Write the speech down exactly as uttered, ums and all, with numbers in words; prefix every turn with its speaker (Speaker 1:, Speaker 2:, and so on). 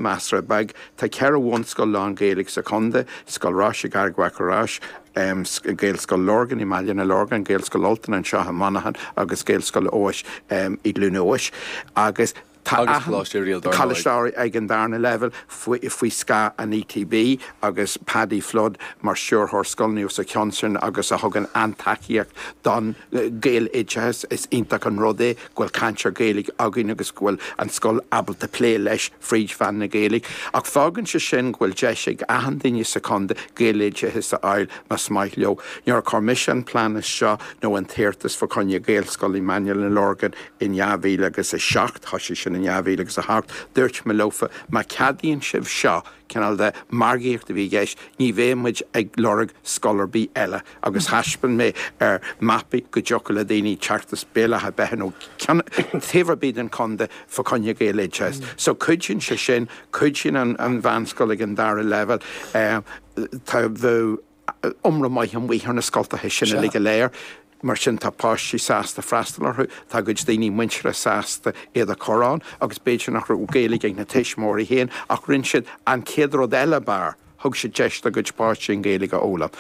Speaker 1: Measartha beag tá ceithre bhunscoil lán-Ghaeilge sa chontae, Scoil Rois i gCarraig Mhachaire Rois, Gaelscoil Lorgan i mBaile na Lorgan, Gaelscoil Ultain anseo i Manchain agus Gaelscoil Eois i gCluain Eois agus tá Coláiste ag an darna level faoi scáth an ETB agus Paddy Flood mar stiúrthóir scoileanna os a chionn sin agus a thugann an-tacaíocht don Ghaeloideachas is iontach an rud é go bhfuil cainteoir Gaeilge againn agus go bhfuil an scoil ábalta plé leis fríd mheán na Gaeilge. Ach fágann sé sin go bhfuil deis ag achan duine sa chontae Gaeloideachas a fháil más maith leo. Nuair a chuir mise an plean seo nó an t-iarratas fá choinne Gaelscoil i mBaile na Lorgan in dhá mhíle agus a seacht thosaigh sin in dhá mhíle agus a hocht dúirt mé leofa má cheadaíonn sibh seo cineál de margaíocht a bhí i gceist ní bheidh muid ag lorg scoil ar bith eile agus thaispeáin mé ar mapaí go dtiocfadh le daoine teacht as Béal Átha Beithe nó taobh ar bith den chontae fá choinne Gaeloideachas. So cuidíonn sé sin cuidíonn an, an mheánscoil ag an dara level tá bheith iomra maith an ar na scoltacha sin uilig go léir. Mar sin tá páistí sásta freastal orthu, tá cuid daoine muinteartha sásta iad a chur ann, agus b'fhéidir nach raibh Gaeilge ag na tuismitheoirí féin ach rinne siad an chéad rud eile b'fhearr, thug siad deis dá gcuid páistí an Ghaeilge a fhoghlaim.